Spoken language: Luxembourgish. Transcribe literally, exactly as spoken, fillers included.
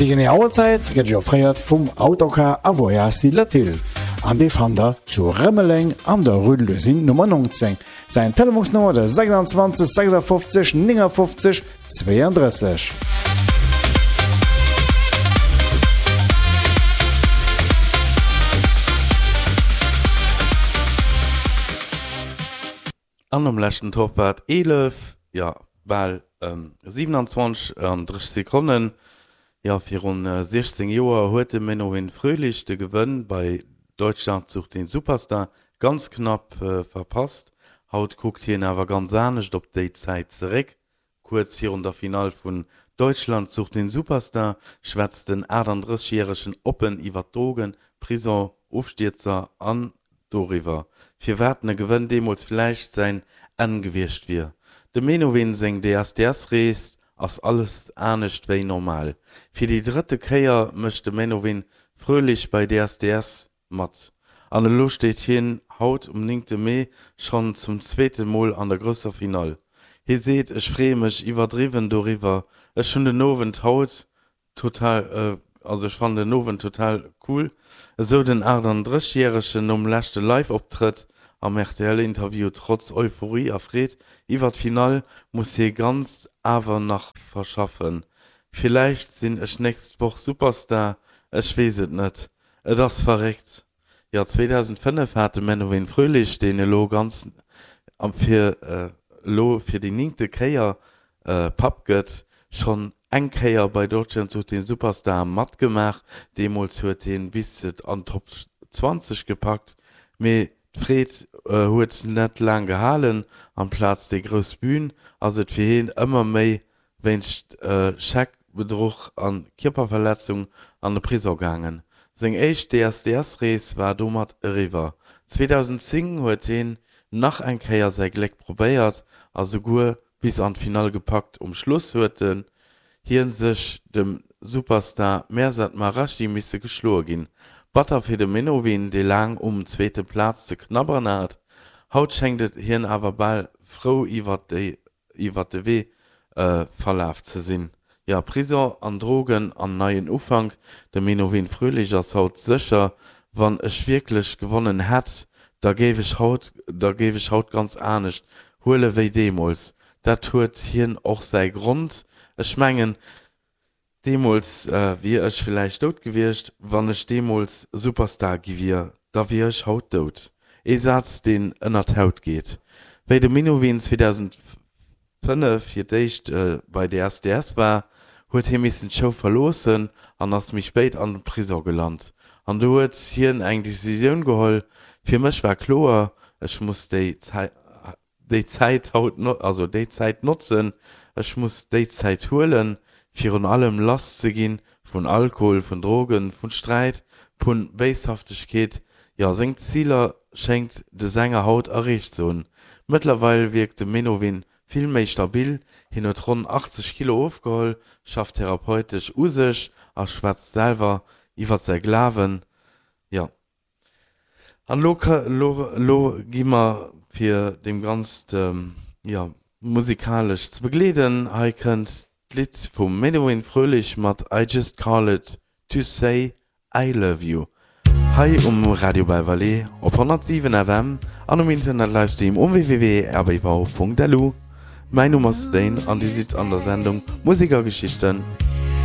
Déi genee Auerzäit gëtt Iech offréiert vum Autocar a Voyages Latil an dee fannt der zu Rëmeleng an der Rue de l'Usine Nummer neunzéng. Säin Telefonsnummer de sechsundzwanzeg sechsundfünfzig neunundfünfzig zweiunddrësseg. An am leschten Tour war et eelef, jo bal siewenundzwanzeg an dréisseg Sekonnen. Jo, virun siechzéng Joer huet de Menowin Fröhlich de Gewënn bei Deutschland sucht den Superstar ganz knapp verpasst. Haut kuckt hien awer ganz anescht op déi Zäit zeréck. Kuerz virun der Finall vun Deutschland sucht den Superstar schwätzt den achtundrësseg-Järegen oppen iwwer Drogen, Prison, Ofstierzer an doriwwer, firwat e Gewënn deemools vläicht säin Enn gewiescht wier. Dem Menowin seng D S D S-Rees ass alles anescht wéi normal. Fir déi drëtte Kéier mécht de Menowin Fröhlich bei D S D S mat. An elo steet hien haut um néngte Mee schonn zum zweete Mol an der grousser Finall. Hie seet, Ech freeë mech iwwerdriwwen doriwwer. Ech hunn den Owend haut total, also ech fannen den Owend total cool, esou den achtundrësseg-Järegen nom leschte Live-Optrëtt am R T L-Interview. Trotz Euphorie a Freed iwwer d'Finall muss hie Ganzt awer nach verschaffen. Villäicht sinn ech nächst Woch Superstar, ech weess et net. Et ass verréckt. Jo, zweedausendfënnef hat de Menowin Fröhlich, deen elo ganz fir elo fir déi néngte Kéier Papp gëtt, schonn eng Kéier bei Deutschland sucht den Superstar matgemaach. Deemools huet hien bis et an d'Top zwanzeg gepackt, mee d'Freed huet net laang gehalen. Amplaz déi grouss Bün ass et fir hien ëmmer méi wéinst Scheckbedruch a Kierperverletzung an de Prisong gaangen. Seng éischt D S D S-Rees war domat eriwwer. zweedausendzéng huet hien nach eng Kéier säi Gléck probéiert a souguer bis an d'Finall gepackt. Um Schluss huet hie sech dem Superstar Mehrzad Marashi misse geschloe ginn. Batter fir de Menowin, dee laang ëm zweete Plaz ze knabberen hat. Haut schéngt hien awer bal frou iwwer déi iwwer de Wee verlaf ze sinn. Jo, Prison an Drogen an neien Ufank. De Menowin Fröhlich ass haut sécher, Wann ech wierklech gewonnen hätt, da géif ech haut da géif ech haut ganz anescht huele wéi deemools. Dat huet hien och säi Grond. Ech mengen, deemools wier ech villäicht dout gewiescht. Wann ech deemools Superstar gi wier, da wier ech haut dout. Ee Saz, deen ënner d'Haut geet. Wéi de Menowin zweedausendfënnef fir d'éischt bei D S D S war, huet hie missen d'Show verloossen an ass méi spéit an de Prisong gelant. An do huet hien eng Decisioun geholl. Fir mech war kloer, ech muss déi déi Zäit haut, also déi Zäit notzen, ech muss déi Zäit huelen, virun allem lass ze ginn vun Alkohol, vun Drogen, vun Sträit, vun Béishaftegkeet. Jo, seng Ziler schéngt de Sänger haut erreecht ze hunn. Mëttlerweil wierkt de Menowin vill méi stabil. Hien huet ronn achtzeg Kilo ofgeholl, schafft therapeutesch u sech a schwätzt selwer iwwer säi Glawen. Jo, an elo elo elo gi mer fir deem Ganzt, jo, musikalesch ze begleeden. Hei kënnt d'Lidd vum Menowin Fröhlich mat I Just Called to Say I Love You. Hei um Radio Belval op honnertsiwen F M an um Internet Livestream um W W W Punkt R B V Punkt L U. Mäin Numm ass Dane an Dir sidd an der Sendung Musek a Geschichten.